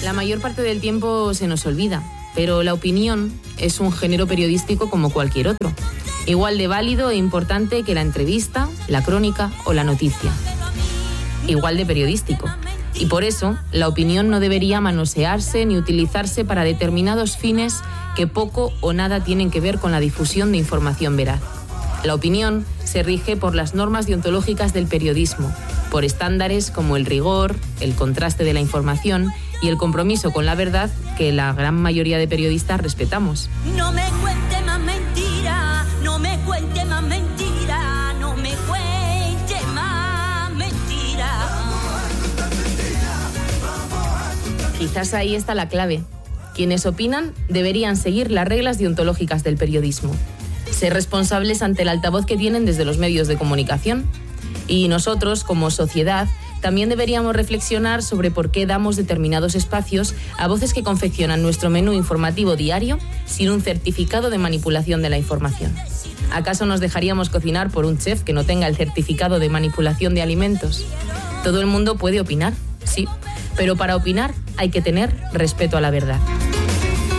La mayor parte del tiempo se nos olvida, pero la opinión es un género periodístico como cualquier otro, igual de válido e importante que la entrevista, la crónica o la noticia. Igual de periodístico. Y por eso, la opinión no debería manosearse ni utilizarse para determinados fines que poco o nada tienen que ver con la difusión de información veraz. La opinión se rige por las normas deontológicas del periodismo, por estándares como el rigor, el contraste de la información y el compromiso con la verdad que la gran mayoría de periodistas respetamos. No me cuente más mentira, no me cuente más mentira, no me cuente más mentira. Quizás ahí está la clave. Quienes opinan deberían seguir las reglas deontológicas del periodismo, ser responsables ante el altavoz que tienen desde los medios de comunicación. Y nosotros, como sociedad, también deberíamos reflexionar sobre por qué damos determinados espacios a voces que confeccionan nuestro menú informativo diario sin un certificado de manipulación de la información. ¿Acaso nos dejaríamos cocinar por un chef que no tenga el certificado de manipulación de alimentos? Todo el mundo puede opinar, sí, pero para opinar hay que tener respeto a la verdad.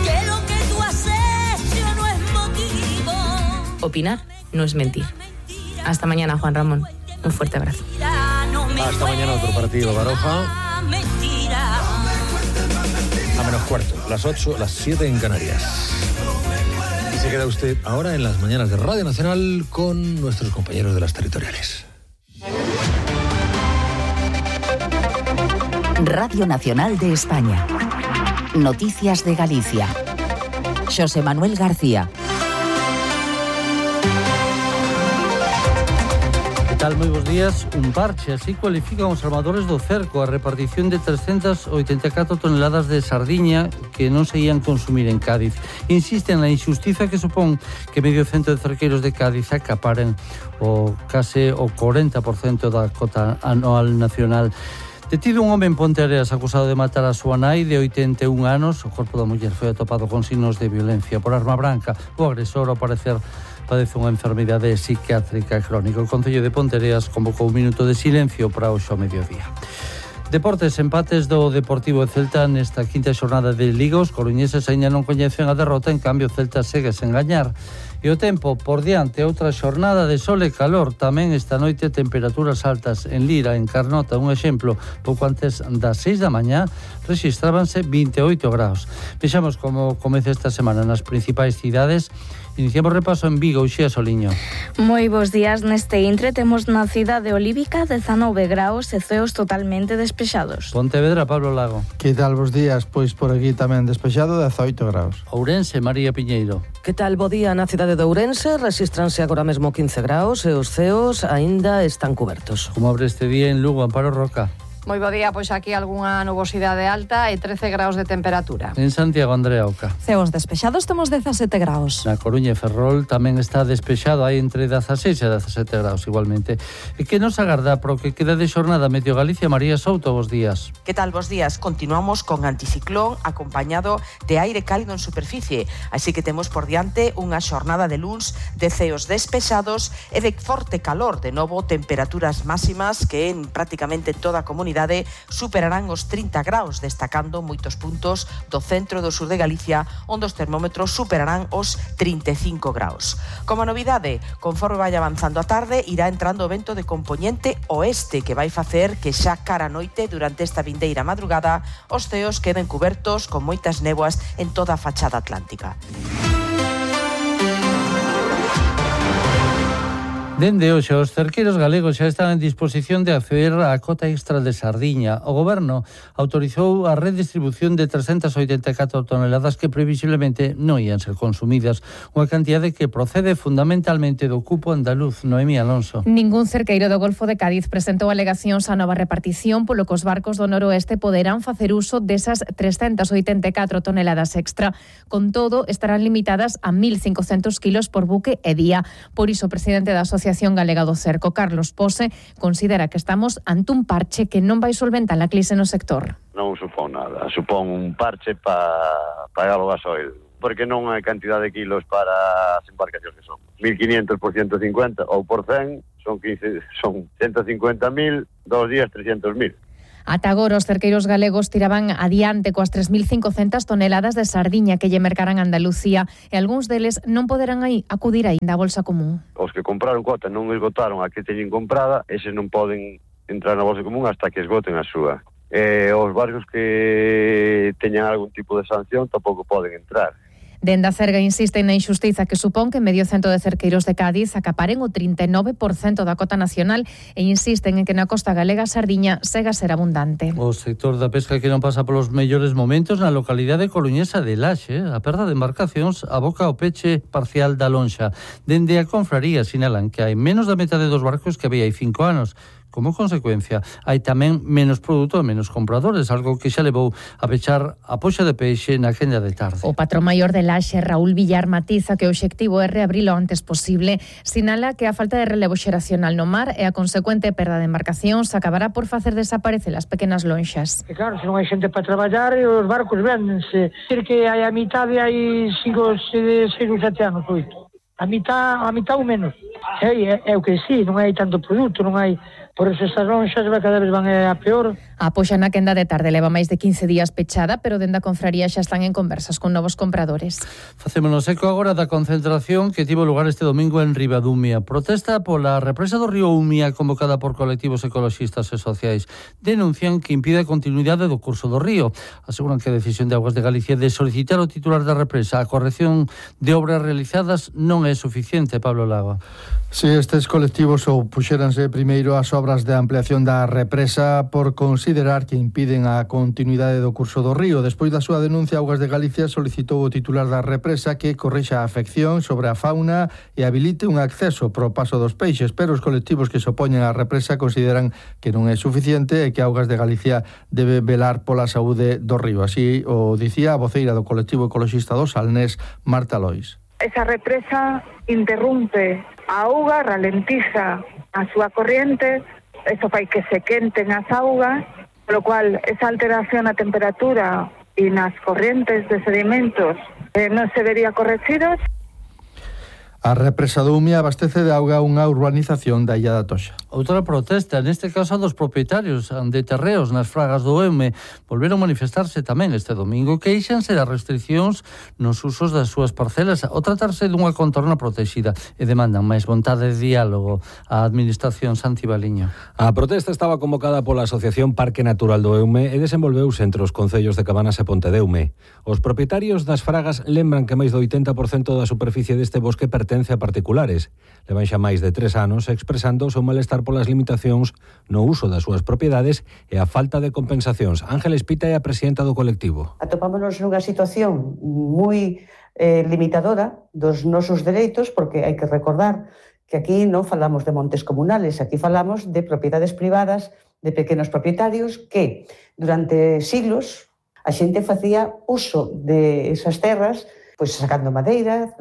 Que lo que tú has hecho no es motivo. Opinar no es mentir. Hasta mañana, Juan Ramón. Un fuerte abrazo. Hasta mañana otro partido, Baroja. A menos cuarto, las 8, las 7 en Canarias. Y se queda usted ahora en las mañanas de Radio Nacional con nuestros compañeros de las territoriales. Radio Nacional de España. Noticias de Galicia. Xosé Manuel García. Tal, moi bons días. Un parche, así cualifican os armadores do cerco a repartición de 384 toneladas de sardiña que non se ían consumir en Cádiz. Insisten na injustiza que supón que medio cento de cerqueiros de Cádiz acaparen case o 40% da cota anual nacional. Detido un home en Ponteareas acusado de matar a súa nai de 81 anos. O corpo da muller foi atopado con signos de violencia por arma branca. O agresor, ao parecer, padece unha enfermidade psiquiátrica crónica. O Concello de Ponteareas convocou un minuto de silencio para hoxe ao mediodía. Deportes, empates do Deportivo e Celta nesta quinta xornada de Liga. Os coruñeses aínda non coñecen a derrota, en cambio o Celta segue sen gañar. E o tempo por diante, outra xornada de sol e calor. Tamén esta noite temperaturas altas en Lira, en Carnota. Un exemplo, pouco antes das 6 da mañá rexistrábanse 28 graus. Vexamos como comeza esta semana nas principais cidades. Iniciamos repaso en Vigo, Uxía Soliño. Moi bons días. Neste intre temos na cidade olívica 19 graus e ceos totalmente despexados. Pontevedra, Pablo Lago. Que tal vos días? Pois por aquí tamén despexado, 18 graus. Ourense, María Piñeiro. Que tal, bo día na cidade de Ourense? Resistranse agora mesmo 15 graus e os ceos aínda están cubertos. Como abre este día en Lugo, Amparo Roca? Moi bo día, pois aquí algunha nubosidade alta e 13 graus de temperatura. En Santiago, Andrea Oca. Ceos despexados, temos 17 graus. Na Coruña e Ferrol tamén está despexado, hai entre 16 e 17 graus igualmente. E que nos agarda pro que queda de xornada Meteo Galicia? María Souto, bos días. Que tal, bos días? Continuamos con anticiclón acompañado de aire cálido en superficie, así que temos por diante unha xornada de luns de ceos despexados e de forte calor, de novo temperaturas máximas que en prácticamente toda a comunidade superarán os 30 graus, destacando moitos puntos do centro e do sur de Galicia, onde os termómetros superarán os 35 graus. Como novidade, conforme vai avanzando a tarde, irá entrando o vento de compoñente oeste, que vai facer que xa cara a noite, durante esta vindeira madrugada, os ceos queden cubertos con moitas néboas en toda a fachada atlántica. Dende hoxe, os cerqueiros galegos xa están en disposición de acceder á cota extra de sardiña. O Goberno autorizou a redistribución de 384 toneladas que previsiblemente non ian ser consumidas, unha cantidade que procede fundamentalmente do cupo andaluz. Noemí Alonso. Ningún cerqueiro do Golfo de Cádiz presentou alegacións á nova repartición, polo que os barcos do noroeste poderán facer uso desas 384 toneladas extra. Con todo, estarán limitadas a 1.500 kilos por buque e día. Por iso, o presidente da Asociación Galega do Cerco, Carlos Pose, considera que estamos ante un parche que non vai solventar a crise no sector. Non supón nada, supón un parche para pagar o gasoil, porque non hai cantidad de kilos para as embarcacións que son. 1.500 por 150 ou por 100 son 150.000, 2 días 300.000. Ata agora os cerqueiros galegos tiraban adiante coas 3.500 toneladas de sardiña que lle mercaran a Andalucía e algúns deles non poderán acudir aínda á bolsa común. Os que compraron cota non esgotaron a que teñen comprada, eses non poden entrar na bolsa común hasta que esgoten a súa. Os barcos que teñan algún tipo de sanción tampouco poden entrar. Dende a Cerga insisten na injustiza que supón que medio cento de cerqueiros de Cádiz acaparen o 39% da cota nacional e insisten en que na costa galega a sardiña segue a ser abundante. O sector da pesca que non pasa polos mellores momentos na localidade coruñesa de Laxe, a perda de embarcacións aboca ao peche parcial da lonxa. Dende a confraría sinalan que hai menos da metade dos barcos que había hai 5 anos. Como consecuencia, hai tamén menos produto e menos compradores, algo que xa levou a pechar a poxa de peixe na quenda de tarde. O patrón maior de Laxe, Raúl Villar, matiza que o obxectivo é reabrilo antes posible. Sinala que a falta de relevo xeracional no mar e a consecuente perda de embarcacións acabará por facer desaparecer as pequenas lonxas. E claro, se non hai xente para traballar, os barcos véndense. Decir que hai a mitade, hai 5, 6 ou 7 anos, 8. A mitad ou menos. É o que sí, non hai tanto produto, non hai... Por eso estas lonxas cada vez van a peor. A poxa na quenda de tarde leva máis de 15 días pechada, pero dende a confraría xa están en conversas con novos compradores. Facémonos eco agora da concentración que tivo lugar este domingo en Ribadumia. Protesta pola represa do río Umia convocada por colectivos ecoloxistas e sociais. Denuncian que impide a continuidade do curso do río. Aseguran que a decisión de Augas de Galicia de solicitar ao titular da represa a corrección de obras realizadas non é suficiente, Pablo Lago. Si estes colectivos opuxéranse primeiro ás obras de ampliación da represa por considerar que impiden a continuidade do curso do río. Despois da súa denuncia, Augas de Galicia solicitou ao titular da represa que corrixa a afección sobre a fauna e habilite un acceso pro paso dos peixes, pero os colectivos que se opoñen á represa consideran que non é suficiente e que Augas de Galicia debe velar pola saúde do río. Así o dicía a voceira do colectivo ecoloxista do Salnés, Marta Lois. Esa represa interrumpe a auga, ralentiza a súa corriente, eso fai que se quenten as augas, polo cual esa alteración na temperatura e nas corrientes de sedimentos non se vería corregidos. A represa do Umia abastece de auga unha urbanización da Illa da Toxa. Outra protesta, neste caso dos propietarios de terreos nas fragas do Eume, volveron manifestarse tamén este domingo, queixanse das restriccións nos usos das súas parcelas ao tratarse dunha contorna protexida e demandan máis vontade de diálogo á administración Santibaliño. A protesta estaba convocada pola Asociación Parque Natural do Eume e desenvolveuse entre os concellos de Cabanas e Pontedeume. Os propietarios das fragas lembran que máis do 80% da superficie deste bosque pertence a particulares. Levan xa máis de 3 anos expresando o seu malestar polas limitacións no uso das súas propiedades e a falta de compensacións. Ángeles Pita é a presidenta do colectivo. Atopámonos nunha situación moi limitadora dos nosos dereitos, porque hai que recordar que aquí non falamos de montes comunales, aquí falamos de propiedades privadas, de pequenos propietarios que durante siglos a xente facía uso de esas terras, pois sacando madeira,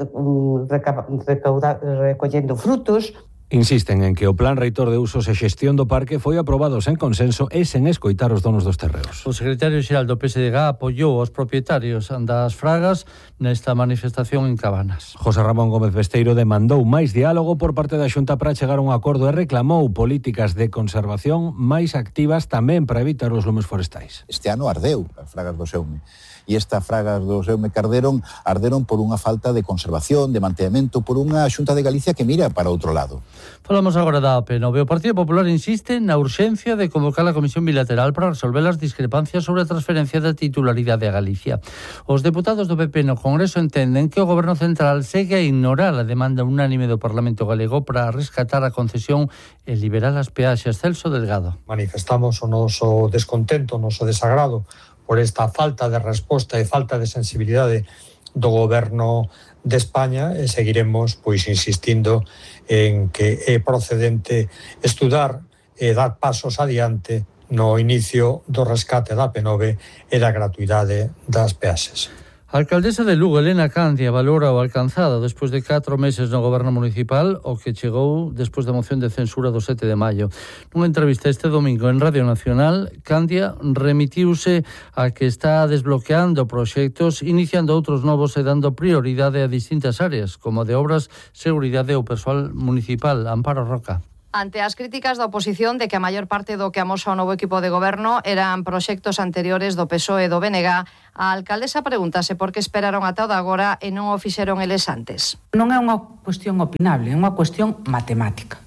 recollendo frutos. Insisten en que o Plan Reitor de Usos e Xestión do Parque foi aprobado sen consenso e sen escoitar os donos dos terreos. O secretario xeral do PSDG apoiou os propietarios das fragas nesta manifestación en Cabanas. José Ramón Gómez Besteiro demandou máis diálogo por parte da Xunta para chegar a un acordo e reclamou políticas de conservación máis activas tamén para evitar os lumes forestais. Este ano ardeu as fragas do Seume. E estas fragas do Seume que arderon por unha falta de conservación, de mantemento, por unha Xunta de Galicia que mira para outro lado. Falamos agora da AP9. O Partido Popular insiste na urxencia de convocar a Comisión Bilateral para resolver as discrepancias sobre a transferencia da titularidade a Galicia. Os deputados do PP no Congreso entenden que o Goberno Central segue a ignorar a demanda unánime do Parlamento Galego para rescatar a concesión e liberar as peaxes. Celso Delgado. Manifestamos o noso descontento, o noso desagrado por esta falta de resposta e falta de sensibilidade do Goberno de España e seguiremos insistindo en que é procedente estudar e dar pasos adiante no inicio do rescate da AP9 e da gratuidade das peaxes. A alcaldesa de Lugo, Elena Candia, valora o alcanzado despois de 4 meses no goberno municipal, o que chegou despois da moción de censura do 7 de maio. Nunha entrevista este domingo en Radio Nacional, Candia remitiuse a que está desbloqueando proxectos, iniciando outros novos e dando prioridade a distintas áreas, como de obras, seguridade ou persoal municipal. Amparo Roca. Ante as críticas da oposición de que a maior parte do que amosa o novo equipo de goberno eran proxectos anteriores do PSOE e do BNG, a alcaldesa pregúntase por que esperaron ata o de agora e non o fixeron eles antes. Non é unha cuestión opinable, é unha cuestión matemática.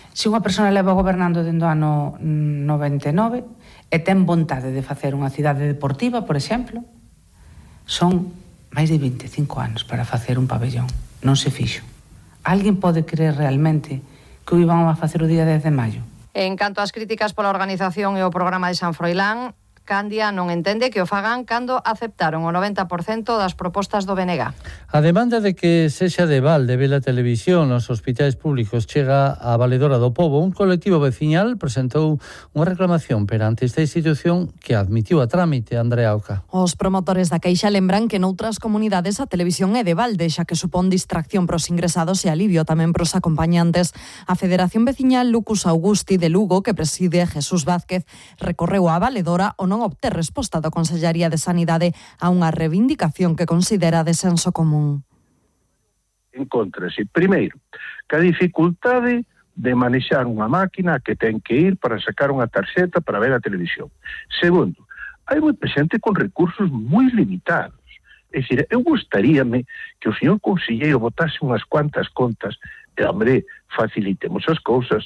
Se unha persona leva gobernando dende o ano 99 e ten vontade de facer unha cidade deportiva, por exemplo, son máis de 25 anos para facer un pabellón. Non se fixo. Alguén pode creer realmente que o iban a facer o día 10 de maio? En canto ás críticas pola organización e o programa de San Froilán, Candia non entende que o fagan cando aceptaron o 90% das propostas do BNG. A demanda de que sexa de balde ver a televisión nos hospitais públicos chega a Valedora do Pobo. Un colectivo veciñal presentou unha reclamación perante esta institución que admitiu a trámite. Andrea Oca. Os promotores da queixa lembran que noutras comunidades a televisión é de balde, xa que supón distracción pros ingresados e alivio tamén pros acompañantes. A Federación Veciñal Lucus Augusti de Lugo, que preside Jesús Vázquez, recorreu a Valedora o non obter resposta da Consellería de Sanidade a unha reivindicación que considera de senso común. Encontrase, primeiro, que a dificultade de manexar unha máquina que ten que ir para sacar unha tarxeta para ver a televisión. Segundo, hai moita xente con recursos moi limitados. É dicir, eu gustaríame que o señor conselleiro botase unhas cuantas contas e, hombre, facilitemos as cousas.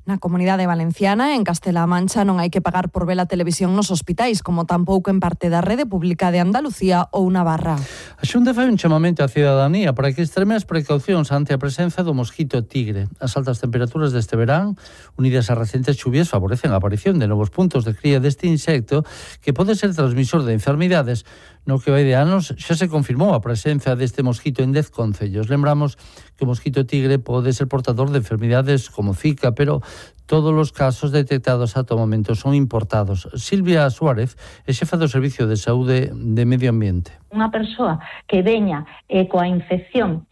Na Comunidade Valenciana, en Castela-A Mancha, non hai que pagar por ver a televisión nos hospitais, como tampouco en parte da Rede Pública de Andalucía ou Navarra. A Xunta fai un chamamento á cidadanía para que extreme as precaucións ante a presenza do mosquito tigre. As altas temperaturas deste verán, unidas ás recentes chuvias, favorecen a aparición de novos puntos de cría deste insecto que pode ser transmisor de enfermidades. No que vai de anos xa se confirmou a presenza deste mosquito en 10 concellos. Lembramos que o mosquito tigre pode ser portador de enfermidades como Zika, pero todos os casos detectados ata o momento son importados. Silvia Suárez é xefa do Servicio de Saúde de Medio Ambiente. Unha persoa que veña coa infección,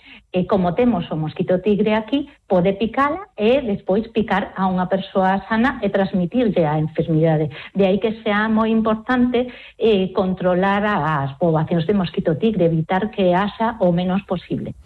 como temos o mosquito tigre aquí, pode picala e despois picar a unha persoa sana e transmitirlle a enfermidade. De aí que sea moi importante controlar as poboacións de mosquito tigre, evitar que haxa o menos posible.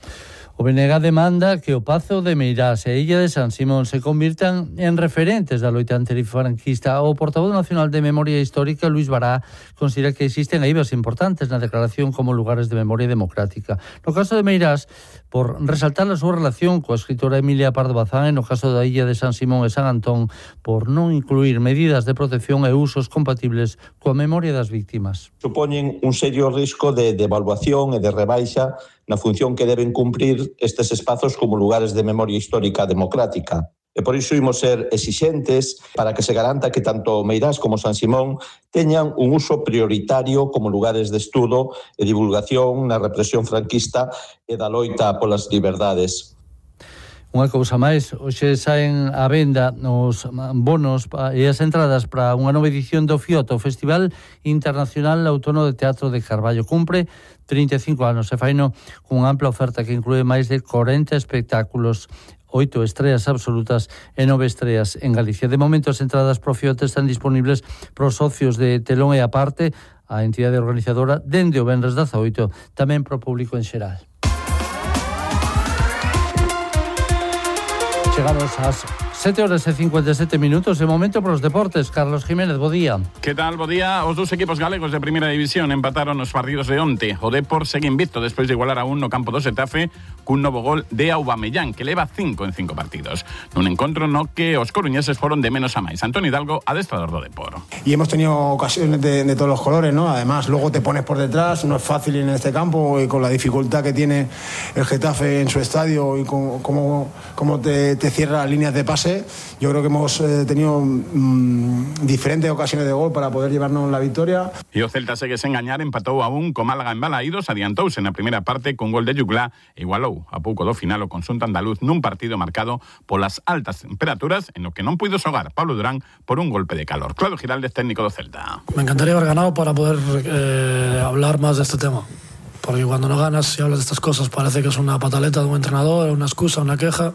O BNG demanda que o Pazo de Meirás e Illa de San Simón se convirtan en referentes da loita antifranquista. O portavoz nacional de Memoria Histórica, Luis Bará, considera que existen eivas importantes na declaración como lugares de memoria democrática. No caso de Meirás, por resaltar a súa relación coa escritora Emilia Pardo Bazán, e no caso da Illa de San Simón e San Antón, por non incluir medidas de protección e usos compatibles coa memoria das víctimas. Supoñen un serio risco de devaluación e de rebaixa na función que deben cumprir estes espazos como lugares de memoria histórica democrática. E por iso imos ser exixentes para que se garanta que tanto Meirás como San Simón teñan un uso prioritario como lugares de estudo e divulgación na represión franquista e da loita polas liberdades. Unha cousa máis, hoxe saen á venda os bonos e as entradas para unha nova edición do FIOT, o Festival Internacional Autónomo de Teatro de Carballo. Cumpre 35 anos e faino cunha ampla oferta que inclúe máis de 40 espectáculos, 8 estreas absolutas e 9 estreas en Galicia. De momento, as entradas pro FIOT están disponibles para os socios de telón e aparte a entidade organizadora dende o venres 18, tamén pro público en xeral. Chegamos ás 7:57 minutos, e momento para os deportes. Carlos Jiménez, bo día. Que tal, bo día? Os dous equipos galegos de primeira división empataron os partidos de onte. O Depor segue invicto despois de igualar a 1 no campo do Xetafe cun novo gol de Aubameyang, que leva 5 en 5 partidos. Nun encontro no que os coruñeses foron de menos a máis. Antonio Hidalgo, adestrador do Depor. Y hemos tenido ocasiones de todos los colores, ¿no? Además, luego te pones por detrás, no es fácil en este campo, y con la dificultad que tiene el Getafe en su estadio y cómo te cierra líneas de pase. Yo creo que hemos tenido diferentes ocasiones de gol para poder llevarnos la victoria. E o Celta segue sen gañar, empatou a 1 co Málaga en Balaídos, adiantouse na primeira parte con gol de Yuglá, igualou a pouco do final o conxunto andaluz nun partido marcado polas altas temperaturas en o que non puido xogar Pablo Durán por un golpe de calor. Claudio Giraldez, técnico do Celta. Me encantaría haber ganado para poder hablar más de este tema. Porque cuando no ganas y hablas de estas cosas parece que es una pataleta de un entrenador, una excusa, una queja.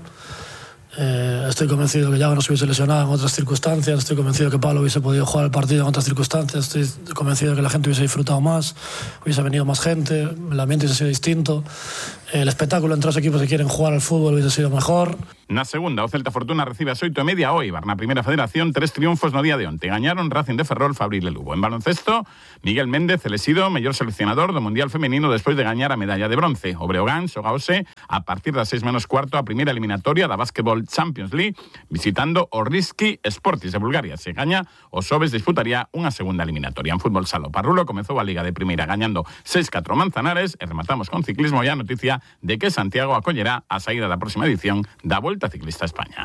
Estoy convencido que Yago no se hubiese lesionado en otras circunstancias, estoy convencido que Pablo hubiese podido jugar el partido en otras circunstancias, estoy convencido que la gente hubiese disfrutado más, hubiese venido más gente, el ambiente hubiese sido distinto, el espectáculo entre los equipos que quieren jugar al fútbol hubiese sido mejor. Na segunda, o Celta Fortuna recibe as 8:30 o Eibar. Na primeira federación, 3 triunfos no día de onte. Gañaron Racing de Ferrol, Fabril e Lugo. En baloncesto, Miguel Méndez elexido mellor seleccionador do Mundial Femenino despois de gañar a medalla de bronce. O Breogán xoga hoxe a partir das 6:15 a primeira eliminatoria da Basketball Champions League visitando o Rizki Sportis de Bulgaria. Se gaña, o Sobes disputaría unha segunda eliminatoria. En fútbol sala, o Parrulo comezou a Liga de Primeira gañando 6-4 Manzanares e rematamos con ciclismo e a noticia de que Santiago acollerá a saída da próxima edición da Volta Ciclista a España.